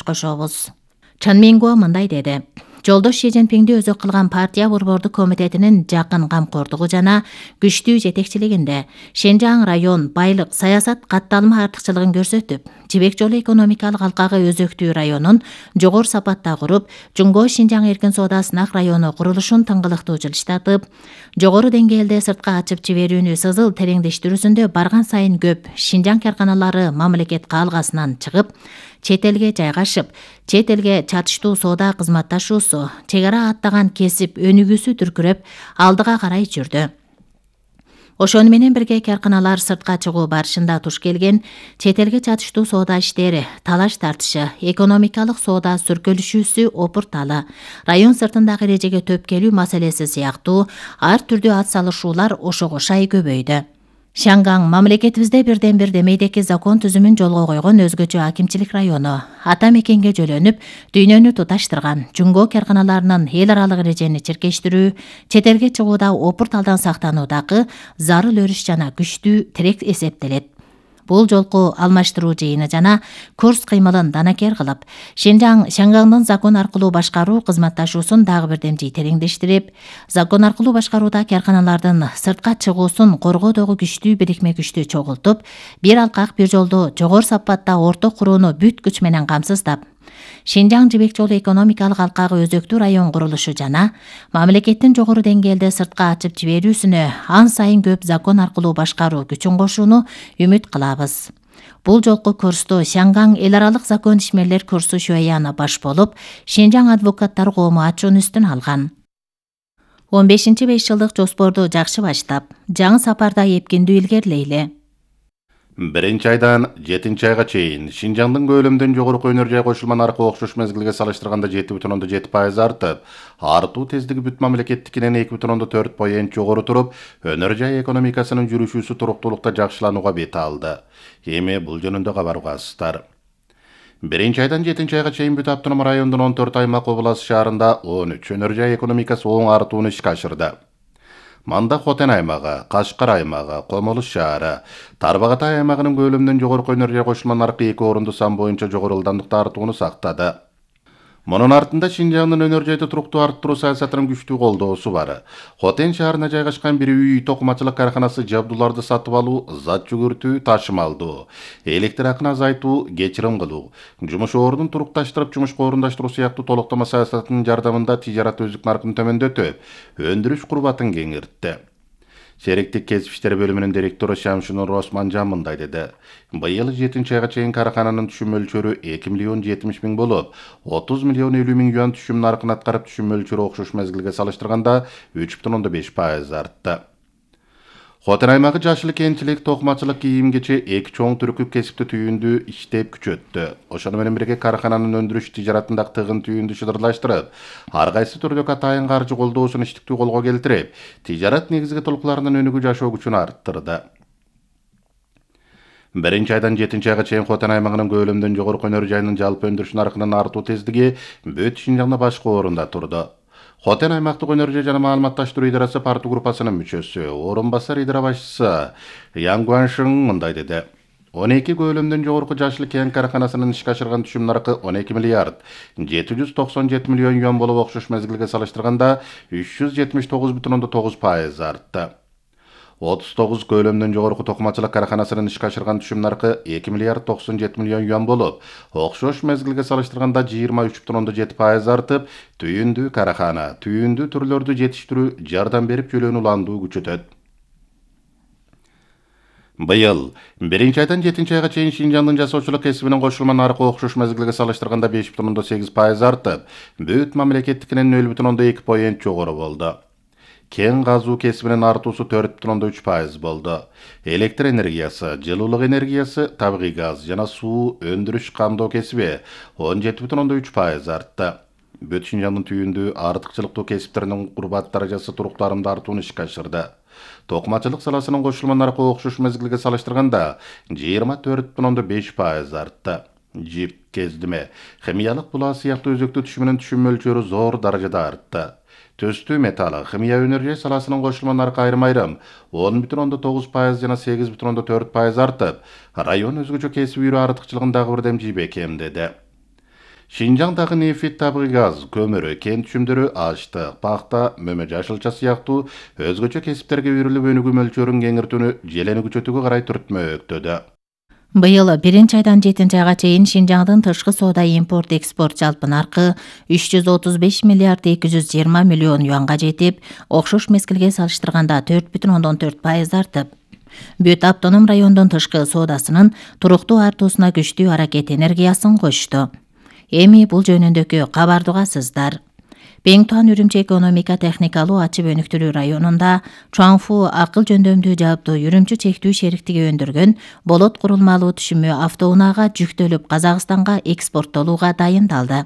кошобуз. Чын Минго мындай деди. Жолдош Ши Цзиньпинди өзү кылган партия борбордук комитетинин жакын камкордугу жана күчтүү жетекчилигинде Шэньчжаң район байлык саясат катталма артыкчылыгын көрсөтүп, Жибек жолу экономикалык алкагы өзөктүү районун жогору сапатта куруп, Жуңго Шинжаң эркин соода сынак району курулушун тыңгылыктуу жылыштатып, жогору деңгээлде сыртка ачып жиберүүнү сызыл тереңдештирүүсүндө барган сайын көп Шинжаң карканалары мамлекет каалгасынан чыгып, чет элге жайгашып, чет элге чатыштуу соода кызматташуусу, чек ара аттаган кесип өнүгүүсү дүркүрөп, алдыга карай жүрдү. Ошону менен бирге карканалар сыртка чыгуу барышында туш келген чет элге чатыштуу соода иштери, талаш тартышы, экономикалык соода сүркөлүшүүсү опурталы, район сыртындагы эрежеге төп келүү маселеси сыяктуу ар түрдүү ат салышуулар ошого шай көбөйдү. Шангаң мамлекетибизде бирден бир демейдеки закон түзүмүн жолго койгон өзгөчө акимчилик району. Ата мекенге жөлөнүп, дүйнөнү туташтырган Жуңго карканаларынын эл аралык эрежени чиркештирүү, чет элге чыгууда опурталдан сактануудагы зарыл өрүш жана күчтүү тирек эсептелет. Бул жолку алмаштыруу жыйыны жана курс кыймылын данакер кылып, Шангаңдын закон аркылуу башкаруу кызматташуусун дагы бирден тереңдештирип, закон аркылуу башкарууда карканалардын сыртка чыгуусун коргоодогу күчтүү бирикме күчтү чогултуп, бир алкак бир жолду жогору сапатта орто курууну бүт күч менен камсыздап, Шинжаң Жибек жолу экономикалык алкагы өзөктүү район курулушу жана мамлекеттин жогору деңгээлде сыртка ачып жиберүүсүнө ан сайын көп закон аркылуу башкаруу күчүн кошууну үмүт кылабыз. Бул жолку курсту Шангаң эл аралык закон ишмерлер курсу Шуэяна баш болуп, Шинжаң адвокаттар коому ачуун үстүн алган. 15-5 жылдык жоспорду жакшы баштап, жаңы сапарда эпкиндүү илгерилейли. 1-айдан 7-айга чейин Шинжаңдын көлөмүнөн жогорку өнөр жай кошулма наркы окшош мезгилге салыштырганда 7,7% артып, артуу тездиги бүт мамлекеттикинен 2,4% жогору туруп, өнөр жай экономикасынын жүрүшүүсү туруктуулукта жакшыланууга бет алды. Эми бул жөнүндө кабар угасыздар. 1-айдан 7-айга чейин бүт автоном райондун 14 аймак облас шаарында 13 өнөр жай экономикасы оң артууну ишке ашырды. Манда Хотен аймагы, Кашкар аймагы, Комолуш шаары, Тарбагатай аймагынын көлөмүнөн жогорку өнөр жай кошулма наркы 2 орунду сан боюнча жогору ылдамдыкта артууну сактады. Мунун артында Шинжаңдын өнөр жайды туруктуу арттыруу саясатынын күчтүү колдоосу бар. Хотен шаарына жайгашкан бир үй токумачылык карканасы жабдууларды сатып алуу, зат жүгүртүү, ташымалдоо, электр акын азайтуу, кечирим кылуу, жумуш ордун турукташтырып, жумушка орундаштыруу сыяктуу толуктама саясатынын жардамында тижарат өздүк наркын төмөндөтүп, өндүрүш курбатын кеңиртти. Шериктик кесип иштери бөлүмүнүн директору Шамшинур Османжан мындай деди. Быйыл 7-айга чейин каркананын түшүм мөлчөрү 2,70 миллион болуп, 30,50 миллион юан түшүм наркын аткарып, түшүм мөлчөрү окшош мезгилге салыштырганда 3,5% артты. Хотен аймагы жашыл кенчилик, токумачылык, кийим кечи, эки чоң түркүп кесипти түйүндү иштеп күчөттү. Ошону менен бирге каркананын өндүрүш тижаратындагы тыгын түйүндү шыдырлаштырып, ар кайсы түрдөгү атайын каржы колдоосун иштиктүү колго келтирип, тижарат негизги толукларынын өнүгүү жашоо күчүн арттырды. 1-айдан 7-айга чейин Хотен аймагынын көлөмүнөн жогорку өнөр жайынын жалпы өндүрүш наркынын артуу тездиги бүт Шинжаңда башкы орунда турду. Хотен аймактык өнөр жай жана маалыматташтыруу идарасы парту группасынын мүчөсү, орун басар идара башчысы Ян Гуаншин мындай деди. 12 көлөмүнөн жогорку жашыл кен карканасынын ишке ашырган түшүм наркы 12 миллиард 797 миллион юан болуп, окшош мезгилге салыштырганда 379,9% артты. 39 көлөмүнөн жогорку токумачылык карканасынын ишке ашырган түшүм наркы 2 миллиард 97 миллион юан болуп, окшош мезгилге салыштырганда 23,7% артып, түйүндүү карахана, түйүндүү түрлөрдү жетиштирүү, жардам берип жөлөнү уландуу күчөтөт. Быйыл 1-айдан 7-айга чейин Шинжаңдын жасоочулук кесибинин кошулма наркы окшош мезгилге салыштырганда 5,8% артып, бүт мамлекеттикинен 0,2% жогору болду. Кен газуу кесибинин артуусу 4,3% болду. Электр энергиясы, жылуулук энергиясы, табигый газ жана суу өндүрүш камдоо кесиби 17,3% артты. Бүт Шинжаңдын түйүндүү артыкчылыктуу кесиптеринин курбат даражасы туруктуу арымда артууну ишке ашырды. Токумачылык саласынын кошулма наркы окшош мезгилге салыштырганда 24,5% артты. Жип, кездиме, химиялык булаа сыяктуу өзөктүү түшүмүнүн түшүм мөлчөрү зор даражада артты. Төстүү металл, химия өнөр жай саласынын кошулма наркы айрым-айрым 10,9% жана 8,4% артып, район өзгөчө кесип үйрө артыкчылыгын дагы бирдем жийбек эмдеди. Шинжаңдагы нефть, табигый газ, көмүр, кен түшүмдөрү, аштык, пахта, мөмө жашылча сыяктуу өзгөчө кесиптерге үйрүлүп өнүгүү мөлчөрүн кеңиртүүнү желени күчөтүүгө карай түртмөктөдө. Быйыл 1 айдан 7 айга чейин Шинжаңдын тышкы соода импорт экспорт жалпы наркы 335 миллиард 220 миллион юанга жетип, окшош мезгилге салыштырганда 4,4% артып, бүт автоном райондун тышкы соодасынын туруктуу артуусуна күчтүү аракет энергиясын кошту. Эми бул жөнүндөгү кабарды угасыздар. Пең Туан Үрүмчи экономика техникалуу ачып өнүктүрүү районунда Чуаңфу акыл жөндөмдүү жаапты Үрүмчү чектүү шериктиги өндүргөн болот курулмалуу түшүмү автоунаага жүктөлүп Казакстанга экспорттолууга дайындалды.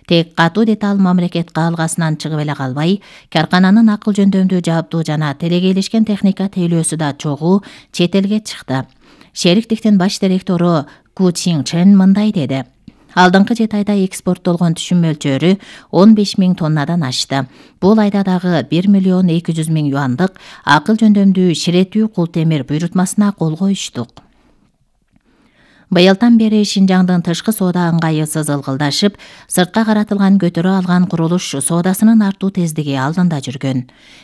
Тек катуу деталь мамлекет каалгасынан чыгып эле калбай, каркананын акыл жөндөмдүү жаапты жана телекейлешкен техника тейлөөсү да чогуу чет элге чыкты. Шериктиктин баш директору Ку Чин Чен мындай деди: Алдыңкы 7 айда экспорттолгон түшүм мөлчөрү 15 000 тоннадан ашты. Бул айда дагы 1 миллион 200 000 юандык акыл жөндөмдүү ширетүү култемир буйрутмасына кол коюштук. Быйылдан бери Шинжаңдын тышкы соода ыңгайы ылгылдашып, сыртка каратылган көтөрө алган курулуш соодасынын артуу тездиги алдында жүргөн.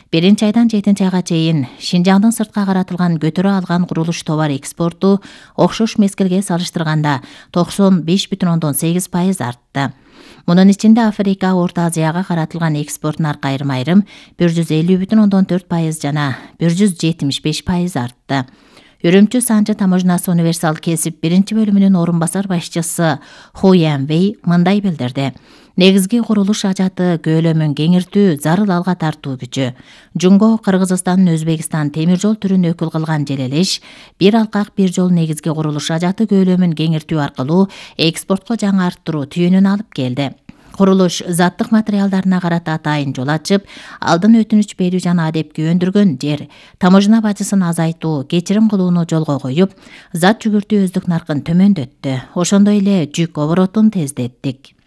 1 айдан 7 айга чейин Шинжаңдын сыртка каратылган көтөрө алган курулуш товар экспорту окшош мезгилге салыштырганда 95,8% артты. Мунун ичинде Африка, Орто Азияга каратылган экспорт наркы айрым-айрым 150,4% жана 175% артты. Үрүмчү Санжы таможнасы универсал кесип 1-бөлүмүнүн орун басар башчысы Ху Янвей мындай билдирди: негизги курулуш ажаты көөлөмүн кеңиртүү, зарыл алга тартуу күчү. Жунго Кыргызстан, Өзбекстан темир жол түрүн өкүл кылган желелеш, бир алкак бир жол негизги курулуш ажаты көөлөмүн кеңиртүү аркылуу экспортко жаңы арттыруу түйүнүн алып келди. Курулуш заттык материалдарына карата атайын жол ачып, алдын өтүнүч берүү жана адепки өндүргөн жер, таможна бажысын азайтуу, кечирим кылууну жолго коюп, зат жүгүртүү өздүк наркын төмөндөттү. Ошондой эле жүк оборотун тездеттик.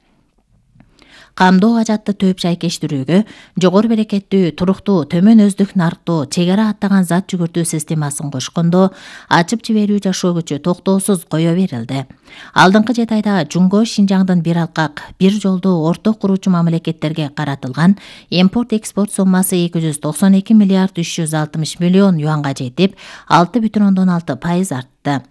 Камдоо ажатты төп шайкештирүүгө жогору берекеттүү, туруктуу, төмөн өздүк нарктуу чек ара аттаган зат жүгүртүү системасын кошкондо ачып жиберүү жашоо күчү токтоосуз кое берилди. Алдыңкы 7 айда Жунго Шинжаңдын бир алкак, бир жолду орток куруучу мамлекеттерге каратылган импорт-экспорт соммасы 292 миллиард 360 миллион юанга жетип, 6,6% артты.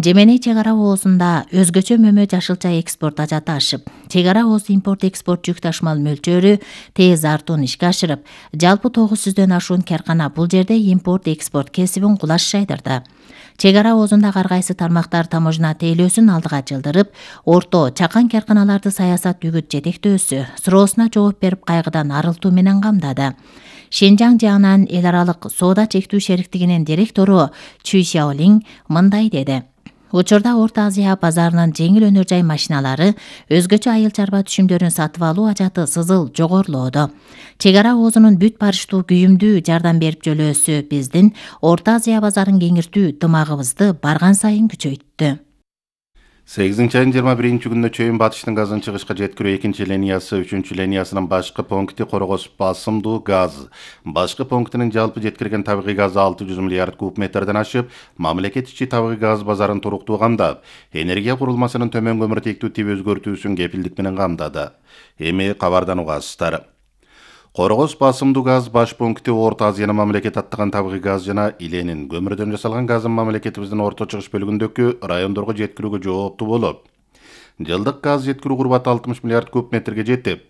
Жеменей чек ара оозунда өзгөчө мөмө жашылча экспорт ажаты ашып, чек ара ооз импорт-экспорт жүк ташымал мөлчөрү тез артууну ишке ашырып, жалпы 900дөн ашуун каркана бул жерде импорт-экспорт кесибин кулаш жайдырды. Чек ара оозунда ар кайсы тармактар таможна тейлөөсүн алдыга жылдырып, орто, чакан карканаларды саясат үгүт жетектөөсү суроосуна жооп берип кайгыдан арылтуу менен камдады. Шинжаң жагынан эл аралык соода чектүү шериктигинин директору Чүй Сяолинг мындай деди: учурда Орто Азия базарынын жеңил өнөр жай машиналары, өзгөчө айыл чарба түшүмдөрүн сатып алуу ажаты сызыл жогорулоодо. Чек ара оозунун бүт барыштуу күйүмдүү жардам берип жөлөөсү биздин Орто Азия базарын кеңиртүү дымагыбызды барган сайын күчөйттү. 8-айдын 21-күнүнө чейин батыштын газын чыгышка жеткирүү 2 линиясы, 3 линиясынын башкы пункти Коргос басымдуу газ. Башкы пунктинин жалпы жеткирген табигый газы 600 миллиард куб метрден ашып, мамлекет ичи табигый газ базарын туруктуу камдап, энергия курулмасынын төмөн көмүртектүү тип өзгөртүүсүн кепилдик менен камдады. Эми кабардан угасыздар. Коргос басымдуу газ баш пункти Орто Азиянын мамлекет аттаган табигый газ жана иленин көмүрдөн жасалган газын мамлекетибиздин орто чыгыш бөлүгүндөгү райондорго жеткирүүгө жооптуу болуп, жылдык газ жеткирүү курбаты 60 миллиард куб метрге жетип,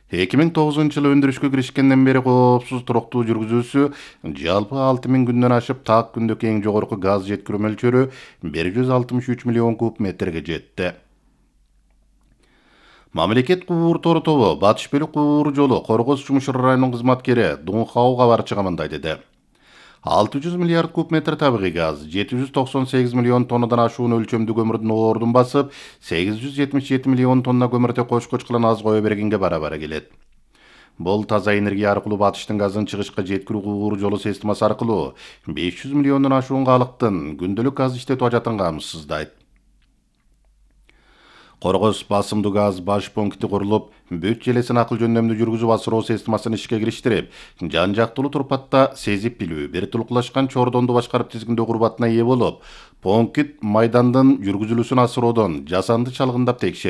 2009-жылы өндүрүшкө киришкенден бери коопсуз туруктуу жүргүзүүсү жалпы 6000 күндөн ашып, так күндөгү эң жогорку газ жеткирүү мөлчөрү 163 миллион куб метрге жетти. Мамлекет кубур тору тобу Батыш Бөлүк кубур жолу Коргос Чумушур районунун кызматкери Дунхау кабарчыга мындай деди: 600 миллиард куб метр табигый газ, 798 миллион тоннадан ашуун өлчөмдүү көмүрдүн ордун басып, 877 миллион тонна көмүрдө кош-кош кылан аз кое бергенге бара-бара келет. Бул таза энергия аркылуу батыштын газын чыгышка жеткирүү кубур жолу системасы аркылуу 500 миллиондон ашуун калктын күндөлүк газ иштетүү ажатын камсыздайт. Коргос басымдуу газ баш пункти курулуп, бүт желесин акыл жөндөмдүү жүргүзүп асыроо системасын ишке кириштирип, жан-жактылуу турпатта сезип билүү, бир тулкулашкан чордонду башкарып тизгиндөө курбатына ээ болуп, пункт майдандын жүргүзүлүүсүн асыроодон жасанды чалгындап текшерүү